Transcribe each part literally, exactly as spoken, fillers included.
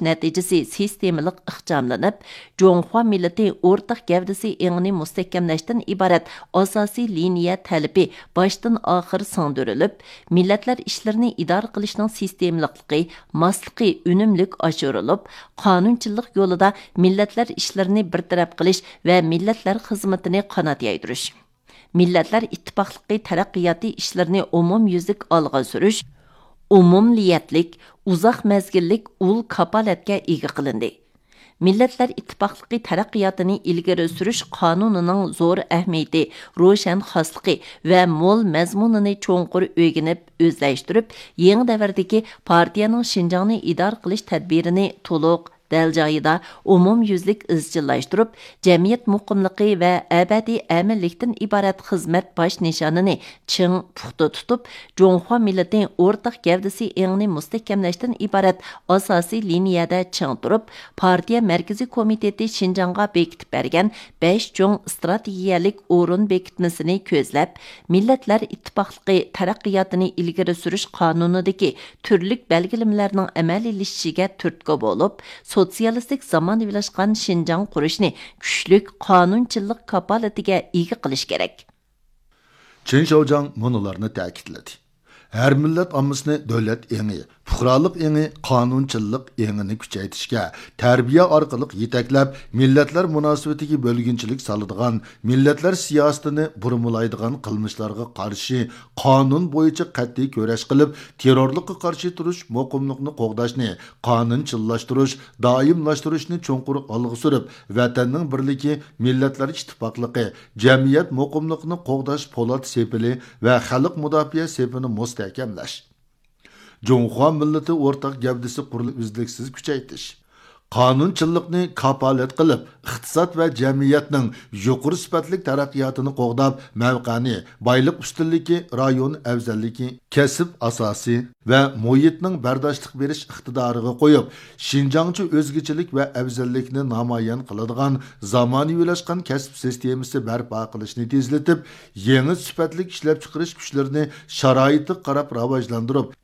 نەتىجىسى سىستېمىلىق ئىخچاملىنىپ، جۇڭخۇا مىللىتى ئورتاق گەۋدىسى ئېڭىنى مۇستەھكەملەشتىن ئىبارەت ئاساسىي لىنىيە تەلىپى باشتىن ئاخىر سىڭدۈرۈلۈپ، مىللەتلەر ئىشلىرىنى ئىدارە قىلىشنىڭ سىستېمىلىقلىقى، ماسلىقى ئۈنۈملۈك ئاشۇرۇلۇپ، قانۇنچىللىق يولىدا مىللەتلەر ئىشلىرىنى بىر تەرەپ قىلىش ۋە مىللەتلەر خىزمىتىنى قانات يايدۇرۇش، مىللەتلەر ئىتتىپاقلىقى تەرەققىياتى ئىشلىرىنى ئومۇميۈزلۈك ئالغا سۈرۈش، ئومۇممىللەتلىك، ئۇزاق مەزگىللىك ئۇل كاپالەتكە ئىگە قىلىندى. مىللەتلەر ئىتتىپاقلىقى تەرەققىياتىنى ئىلگىرى سۈرۈش قانۇنىنىڭ زور ئەھمىيىتى، روشەن خاسلىقى ۋە مول مەزمۇنىنى چوڭقۇر ئۆگىنىپ، ئۆزلەشتۈرۈپ، يېڭى دەۋردىكى پارتىيەنىڭ شىنجاڭنى ئىدارە قىلىش تەدبىرىنى تولۇق، دەل جايىدا، ئومۇميۈزلۈك ئىزچىللاشتۇرۇپ، جەمئىيەت مۇقىملىقى ۋە ئەبەدىي ئەمىنلىكتىن ئىبارەت خىزمەت باش نىشانىنى چىڭ، پۇختا تۇتۇپ، جۇڭخۇا مىللىتى ئورتاق گەۋدىسى ئېڭىنى مۇستەھكەملەشتىن ئىبارەت ئاساسىي لىنىيەدە چىڭ تۇرۇپ، پارتىيە مەركىزىي كومىتېتى شىنجاڭغا بېكىتىپ بەرگەن بەش چوڭ ئىستراتېگىيەلىك ئورۇن بېكىتمىسىنى كۆزلەپ، مىللەتلەر ئىتتىپاقلىقى تەرەققىياتىنى ئىلگىرى سۈرۈش قانۇنىدىكى تۈرلۈك بەلگىلىمىلەرنىڭ ئەمەلىيلىشىشىگە تۈرتكە بولۇپ، سوتسىيالىستىك زامانىۋىلاشقان شىنجاڭ قۇرۇشنى كۈچلۈك قانۇنچىللىق كاپالىتىگە ئىگە قىلىش كېرەك. چېن شياۋجياڭ مۇنۇلارنى تەكىتلىدى: ھەر مىللەت ئاممىسىنى دۆلەت ئېڭى، پۇقرالىق ئېڭى، قانۇنچىللىق ئېڭىنى كۈچەيتىشكە، تەربىيە ئارقىلىق يېتەكلەپ، مىللەتلەر مۇناسىۋىتىگە بۆلگۈنچىلىك سالىدىغان، مىللەتلەر سىياسىتىنى بۇرمىلايدىغان قىلمىشلارغا قارشى قانۇن بويىچە قەتئىي كۈرەش قىلىپ، تېررورلۇققا قارشى تۇرۇش، مۇقىملىقنى قوغداشنى قانۇنچىللاشتۇرۇش، دائىملاشتۇرۇشنى چوڭقۇر ئالغا سۈرۈپ، ۋەتەننىڭ بىرلىكى، مىللەتلەر ئىتتىپاقلىقى، جەمئىيەت مۇقىملىقىنى قوغداش پولات سېپىلى ۋە خەلق مۇداپىئە سېپىنى مۇستەھكەملەش، جۇڭخۇا مىللىتى ئورتاق گەۋدىسى قۇرۇلۇشىنى ئۈزلۈكسىز كۈچەيتىش، قانۇنچىللىقنى كاپالەت قىلىپ، ئىقتىساد ۋە جەمئىيەتنىڭ يۇقىرى سۈپەتلىك تەرەققىياتىنى قوغداپ، مەۋقەنى، بايلىق ئۈستۈنلۈكى، رايون ئەۋزەللىكى، كەسىپ ئاساسى ۋە مۇھىتنىڭ بەرداشلىق بېرىش ئىقتىدارىغا قويۇپ، شىنجاڭچە ئۆزگىچىلىك ۋە ئەۋزەللىكنى نامايان قىلىدىغان زامانىۋىلاشقان كەسىپ سىستېمىسى بەرپا قىلىشنى تېزلىتىپ، يېڭى سۈپەتلىك ئىشلەپچىقىرىش كۈچلىرىنى شارائىتقا قاراپ راۋاجلاندۇرۇپ،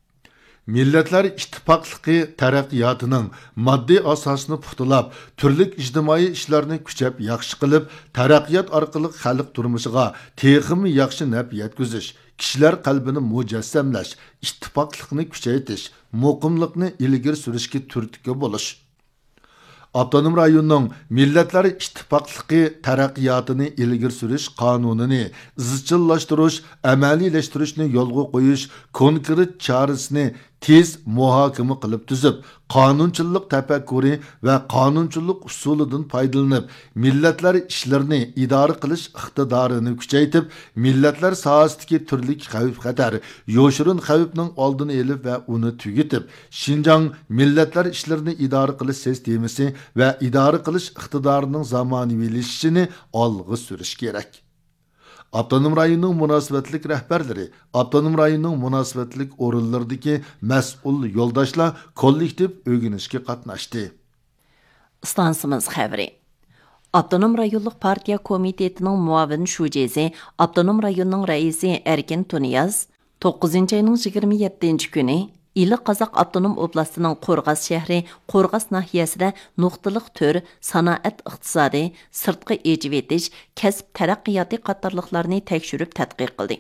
مىللەتلەر ئىتتىپاقلىقى تەرەققىياتىنىڭ ماددىي ئاساسىنى پۇختىلاپ، تۈرلۈك ئىجتىمائىي ئىشلارنى كۈچەپ ياخشى قىلىپ، تەرەققىيات ئارقىلىق خەلق تۇرمۇشىغا تېخىمۇ ياخشى نەپ يەتكۈزۈش، كىشىلەر قەلبىنى مۇجەسسەملەش، ئىتتىپاقلىقنى كۈچەيتىش، مۇقىملىقنى ئىلگىرى سۈرۈشكە تۈرتكە بولۇش. ئاپتونوم رايوننىڭ مىللەتلەر ئىتتىپاقلىقى تەرەققىياتىنى ئىلگىرى سۈرۈش قانۇنىنى ئىزچىللاشتۇرۇش، ئەمەلىيلەشتۈرۈشنى يولغا قويۇش كونكرېت چارىسىنى تېز مۇھاكىمە قىلىپ تۈزۈپ، قانۇنچىللىق تەپەككۇرى ۋە قانۇنچىللىق ئۇسۇلىدىن پايدىلىنىپ، مىللەتلەر ئىشلىرىنى ئىدارە قىلىش ئىقتىدارىنى كۈچەيتىپ، مىللەتلەر ساھەسىدىكى تۈرلۈك خەۋپ-خەتەر، يوشۇرۇن خەۋپنىڭ ئالدىنى ئېلىپ ۋە ئۇنى تۈگىتىپ، شىنجاڭ مىللەتلەر ئىشلىرىنى ئىدارە قىلىش سىستېمىسى ۋە ئىدارە قىلىش ئىقتىدارىنىڭ زامانىۋىلىشىشىنى ئالغا سۈرۈش كېرەك. ئاپتونوم رايوننىڭ مۇناسىۋەتلىك رەھبەرلىرى، ئاپتونوم رايوننىڭ مۇناسىۋەتلىك ئورۇنلىرىدىكى مەسئۇل يولداشلار كوللېكتىپ ئۆگىنىشكە قاتناشتى. ئىستانسىمىز خەۋىرى. ئاپتونوم رايونلۇق پارتىيە كومىتېتىنىڭ مۇئاۋىن شۇجىسى، ئاپتونوم رايوننىڭ رەئىسى ئەركىن تۇنىياز توققۇزىنچى ئاينىڭ يىگىرمە يەتتىنچى كۈنى ئىلى قازاق ئاپتونوم ئوبلاستىنىڭ قورغاس شەھىرى قورغاس ناھىيەسىدە نۇقتىلىق تۈر، سانائەت ئىقتىسادى، سىرتقا ئېچىۋېتىش، كەسىپ تەرەققىياتى قاتارلىقلارنى تەكشۈرۈپ تەتقىق قىلدى.